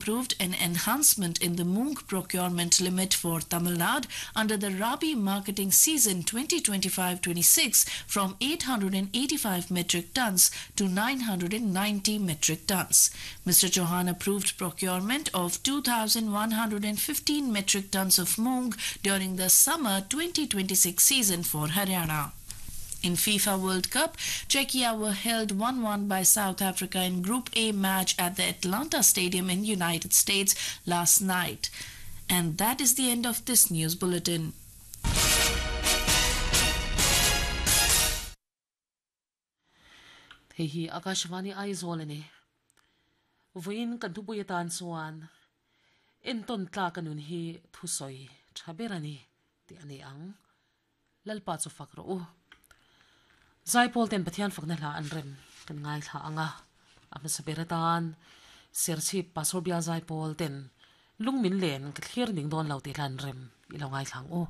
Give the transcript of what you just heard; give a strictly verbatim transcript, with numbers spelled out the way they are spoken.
Approved an enhancement in the moong procurement limit for Tamil Nadu under the Rabi marketing season twenty twenty-five twenty-six from eight hundred eighty-five metric tons to nine hundred ninety metric tons. Mister Chauhan approved procurement of two thousand one hundred fifteen metric tons of moong during the summer twenty twenty-six season for Haryana. In FIFA World Cup, Czechia were held one one by South Africa in Group A match at the Atlanta Stadium in United States last night. And that is the end of this news bulletin. Hei hi Akashvani Aizawl ani. Vawiin kan thupui atan chuan entawn tlak a nun hi thusawi tha ber ani tih a ni ang. Lalpa chu fak rawh u. Zaipawl ten Pathian fakna hla an rem kan ngai thla anga. A hmasa ber atan Serchhip Pastor Bial Zaipawl ten lung min len ka thlir ning dawn lo tih hla an rem i lo ngai thlang u.